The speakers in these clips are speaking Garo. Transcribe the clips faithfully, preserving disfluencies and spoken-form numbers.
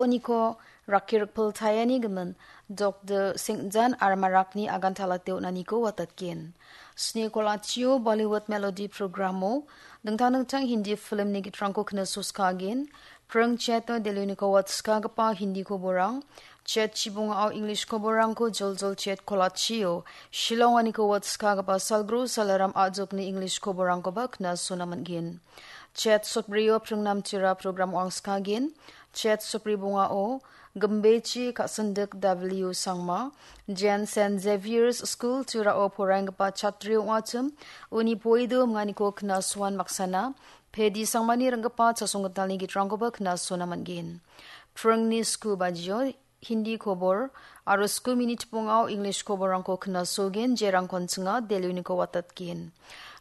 Oniko rakki rikpil tayani gimin Doktor Singjan Armarakni agantalate on·aniko watatgen. Sni kolachio Bollywood Melody programo dingtang dingtang Hindi filmni gitrangko knasoskagen. Pring cheto Delhioniko watskagipa Hindi koborang, chet chibongao English koborangko joljol chet kolachio Shillonganiko watskagipa Salgru Salaram Ajokni English koborangkoba knasona man·gen. Chet soprio pringnamtira program wangskagen. Chet sopri bongao Gimbechi Ka·sindik W Sangma, Jen Saint Xavier's School Tirao poraienggipa chatri ong·achim, uni poido minganiko knasoan baksana, Pedi Sangmani ringgipa chasonggitalni gitrangkoba knasona man·gen. Pringni sku bajio Hindi kobor aro sku minit bongao English koborangko knasogen, jerangkon chinga Delhioniko watatgen.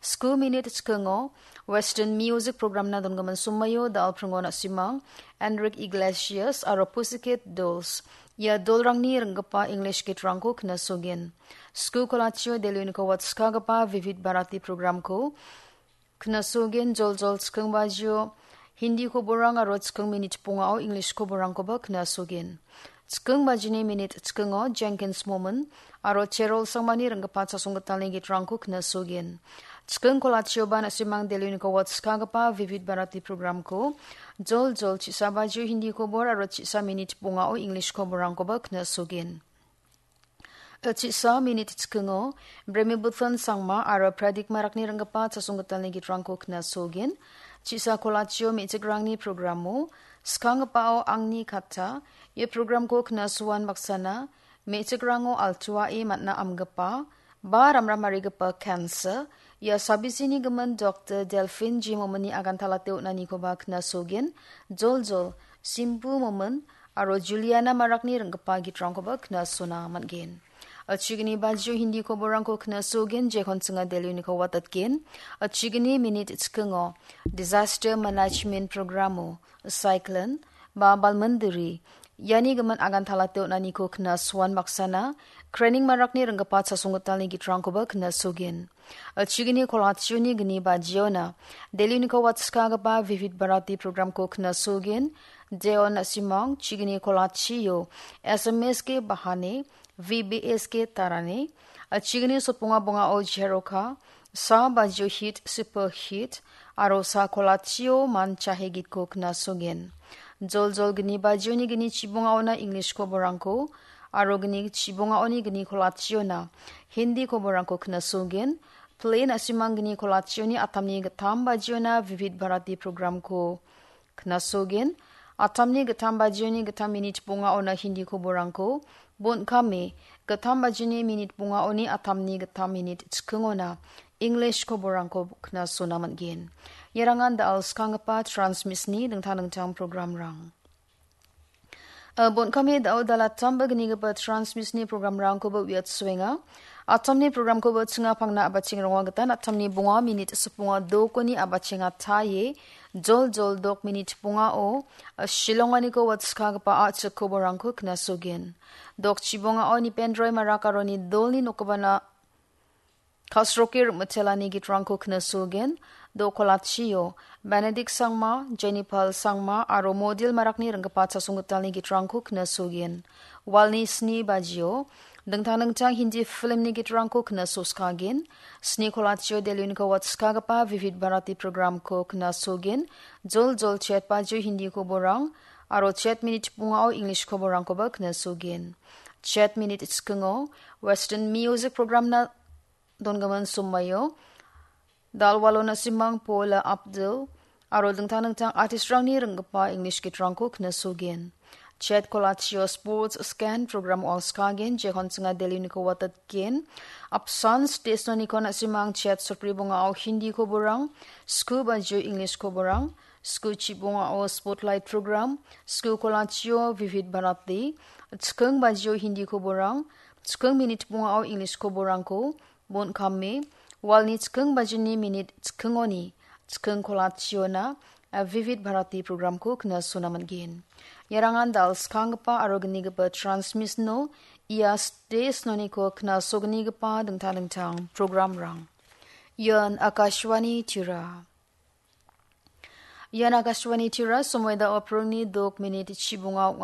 Sku minit chikingo Western Music programna dongimin somaio dal pringo na·simang Enrique Iglesias aro Pussycat Dolls. Ia dolrangni ringgipa English gitrangko knasogen. Sku kolachio Delhioniko watskagipa Vivid Bharati programko knasogen joljol chiking bajio Hindi koborang aro chiking minit bongao English koborangkoba knasogen. Chiking bajini minit chikingo Jenkins Momin aro Cherol Sangmani ringgipa chasonggitalni gitrangko knasogen. Chiking kolachioba na·simang Delhioniko watskagipa Vivid Bharati programko joljol chisa bajio Hindi kobor aro chisa minit bongao English koborangkoba knasogen. Chisa minit chikingo Bremibuthan Sangma aro Pradik Marakni ringgipa chasonggitalni gitrangko knasogen. Chisa kolachio me·chikrangni programo skanggipao Angni Kata, ia programko knasoan baksana me·chikrango altuae man·a amgipa ba ramramarigipa cancer, ia sabisini gimin Doktor Delphine G Mominni agantalate on·anikoba knasogen, joljol Simpu Momin aro Juliana Marakni ringgipa gitrangkoba knasona man·gen. Achigini bajio Hindi koborangko knasogen, jekon chinga Delhioniko watatgen. Achigini minit chikingo Disaster Management Programo Cyclone ba Balmindiri, iani gimin agantalate on·aniko knasoan baksana Krening Marakni ringgipa chasonggitalni gitrangkoba knasogen. Achigini kolachioni gni bajiona Delhioniko watskagipa Vivid Bharati programko knasogen. Deon na·simang chigini kolachio S M S K Bahane, V B S K Tarane, achigini sotbonga bongao Jeroka, sa bajio hit, super hit, aro sa kolachio man chahe gitko knasogen. Joljol gni bajioni gni chibongaona English koborangko, aro gni chibongaoni gni kolachiona Hindi koborangko knasogen. Plane na·simang gni kolachioni atamni gittam bajiona Vivid Bharati programko knasogen. Atamni gittam bajioni gittam minit bongaona Hindi koborangko, bon·kame gittam bajini minit bongaoni atamni gittam minit chikingona English koborangko knasona man·gen. Iarangan da·al skanggipa Transmisni dingtang dingtang programrang. A, bon·kame da·o dalattamba gnigipa Transmisni programrangkoba uiatsuenga. Atamni programkoba chinga pangna a·bacheng ronga gitan atamni bonga minit sipbonga dokoni a·bachenga taie, jol jol dok minit bongao, a, Shillonganiko watskagipa a·chik koborangko knasogen. Dok chibongao Nipendroi Marak aroni dolni nokgipana kasroke rim·itelani gitrangko knasogen. Dokolachio Benedict Sangma, Jennifer Sangma aro Modil Marakni ringgipa chasonggitalni gitrangko knasogen. Walni sni bajio dingtang dingtang Hindi filmni gitrangko knasoskagen. Sni kolachio Delhioniko watskagipa Vivid Bharati programko knasogen. Jol jol chet bajio Hindi koborang aro chet minit bongao English koborangkoba knasogen. Chet minit chikingo Western Music programna dongimin somaio Dalwalo Nasimang, Paula Abdul aro dingtang dingtang artistrangni ringgipa English gitrangko knasogen. Chet kolachio Sports Scan program wangskagen, jekon chinga Delhioniko watatgen. Apsan stage noniko na·simang chet sotbri bongao Hindi koborang, sku bajio English koborang, sku chibongao Spotlight program, sku kolachio Vivid Bharati, chiking bajio Hindi koborang, chiking minit bongao English koborangko, bon·kame, walni chiking bajini minit chikingoni, chiking kolachiona, a, Vivid Bharati programko knasona man·gen. Iarangan dal skanggipa aro gnigipa Transmisno ia stage noniko knasognigipa dingtang dingtang programrang. Ian Akashvani Tira. Ian Akashvani Tira, somoi da·o pringni dok minit chibonga ong·a.